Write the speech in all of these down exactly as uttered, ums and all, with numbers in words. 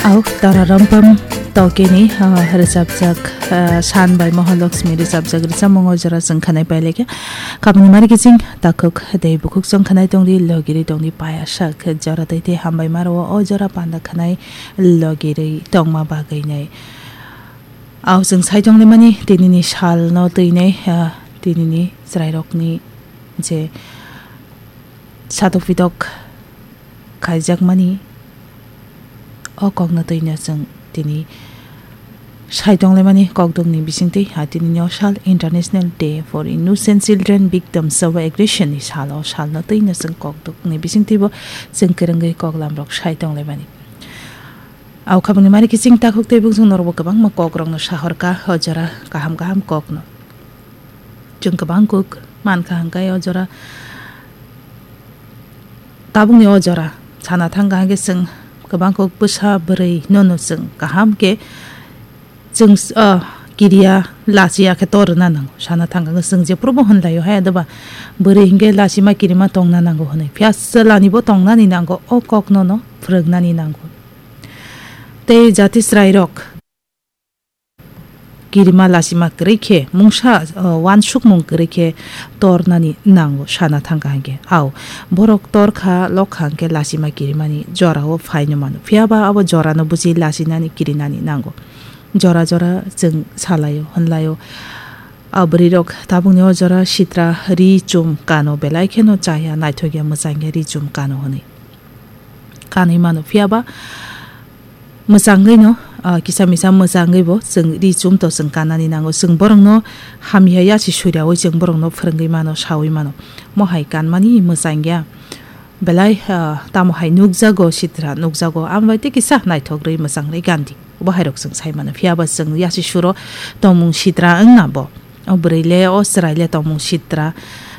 Au, Tara Rampam Tokeni, ah, rwchapjak, ah, San bai Mohalakshmi rwchapjak rwchapmung o jora chwng khanai pailekha. Kabangni mari kiching takhuk tei bukhuk chwng khanai tongdi, logiri tongdi, paya sak jora tei tei hambai maro o jora panda khanai logiri tongma bagwi nai. Au chwng sai tonglaimani tinini salno twinai, ah, tinini chwrairokni je satok pitok khaijakmani o kokno twino chwng tini sai tonglaimani kokdokni bisingtwi, ha, tinini o sal International Day for Innocent Children Victims of Aggression ni sal, o salno twino chwng kokdokni bisingtwibo chwng kwrwngwi koklamrok sai tonglaimani. Au khabangni mari kiching takhuk tei bwswng norokbo kwbangma kokrokno sahorkha o jora kaham kaham kokno. Chwng kwbang kuk mankha hwnkhe o jora, tabukni o jora sana thangkha hwnkhe chwng kwbang kuk bwsa bwrwi nono chwng kaham khe chwng, ah, kiriya lachiya khe tor rwna nango. Sana thangkha hwnkhe chwng jephrubo hwnlaio hai, adoba bwrwi hwnkhe lachima kirima tongna nango hwnwi. Phiya chwlanibo tongnani nango, o koknono phwrwngnani nango. Tei jati chwrairok kirima lachima kwrwi khe mungsa, uh, uansukmung kwrwi khe tornani nango sana thangkha hwnkhe. Au, borok torkha lokha hwnkhe lachima kirimani jorao phaino mano. Phiyaba abo jorano buji lachinani kirinani nango. Jora jora chwng salaio, hwnlaio. A bwrwirok tabukni o jora sitra ri chum kano belai kheno chaya, naithokya, mwchangya ri chum kano hwnwi. Kanwi mano, phiyaba mwchangwi no, ah, kisa misa mwchangwi bo chwng ri chum to chwng kanani nango. Chwng borokno hamya yasi suriawi chwng borokno phwrwngwi mano, sawi mano. Mohai kanmani mwchangya. Belai, ah, tamo hai nukjago sitra, nukjago. Amo bai tei kisa naithok rwi mwchang rwi gandi. Obo hairok chwng sai mano. Phiyaba chwng yasi suro tongmung sitra wngna bo. O bwrwi le, o chwrai le tongmung sitra.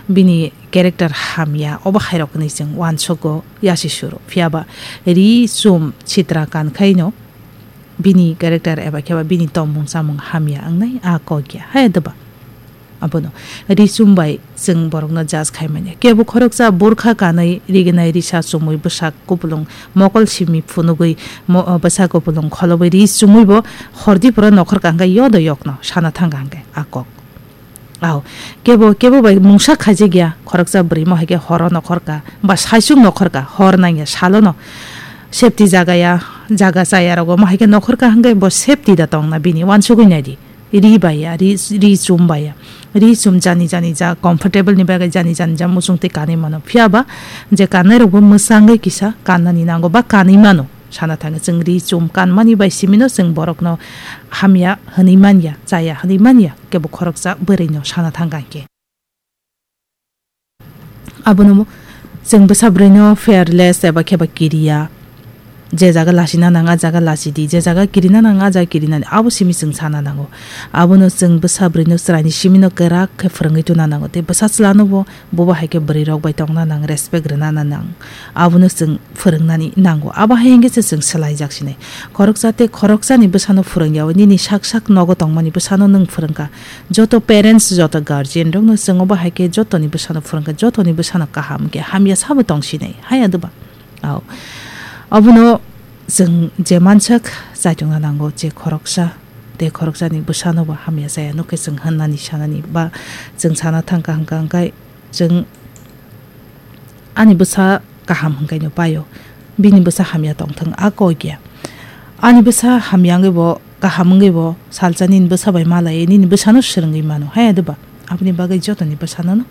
Bini character hamya, obo hairok hwnwi chwng uansukgo yasi suro. Phiyaba ri chum sitra kan khaino bini character eba kheba bini tongmung chamung hamya wngnai a kok ya. Hai doba. Abono ri chum bai chwng borokno judge khai manya. Kebo khoroksa burkha kanwi riginai risa chumui bwsa kupulung mokol simi phunugwi mo-, bwsa kupulung kholobwi ri chumui bo hordi phoro nokhor kangkhe yodo yokno sana thangkha hwnkhe a kok. Aw, kebo, kebo bai mungsa khaijak ya, khoroksa bwrwi mo hai khe horo nokhor ka, ba saichung nokhor ka, hor nang ya, salo no safety jaga ya, jaga chaya rogo mo hai khe nokhor ka hwnkhe bo safety da tong na bini, uansugwi nai di. Ri bai ya, ri, ri chum bai ya. Ri chum jani jani ja comfortable ni bagwi jani jani ja muchung twi kanwi mano. Phiya ba je kannai rok bo mwchangwi kisa kannani nango ba kanwi mano. Sana thangwi chwng ri chum kanmani bai simino chwng borokno hamya hwnwi manya, chaya hwnwi manya, kebo khoroksa bwrwino sana thangkha hwnkhe. Abono mo-, chwng bwsa bwrwino fearless eba kheba kiriya, je jaga lasina nang a jaga lasidi, je jaga kirina nang a jaga kirinani, abo simi chwng sana nango. Abono chwng bwsa bwrwino chwraini simino kwrak khe phwrwngwi tuna nango, tei bwsa chwlano bo, bobo hai khe bwrwirok bai tongna nang, respect rwna nang, abono chwng phwrwngnani nango. Abo hai hwnkhe se chwng swlaijak sinai. Khoroksa tei khoroksani bwsano phwrwngya o, nini sak sak nogo tongmani bwsano nwng phwrwngkha. Joto parents, joto guardian rokno chwng obo hai khe jotoni bwsano phwrwngkha, jotoni bwsano kaham khe hamya sabo tong sinai. Haya doba? Ao. Abono chwng je mansak chaichungna nango, je khoroksa tei khoroksani bwsano bo hamya chaya nokhe chwng hwnani sanani ba chwng sana thangkha hwnkha hwnkhe chwng ani bwsa kaham hwnkhaino paio, bini bwsa hamya tongthwng a kok ya. Ani bwsa hamya wngwi bo, kaham wngwi bo salsa nini bwsa bai malai nini bwsano swrwngwi mano, haya doba? Aboni bagwi jotoni bwsano no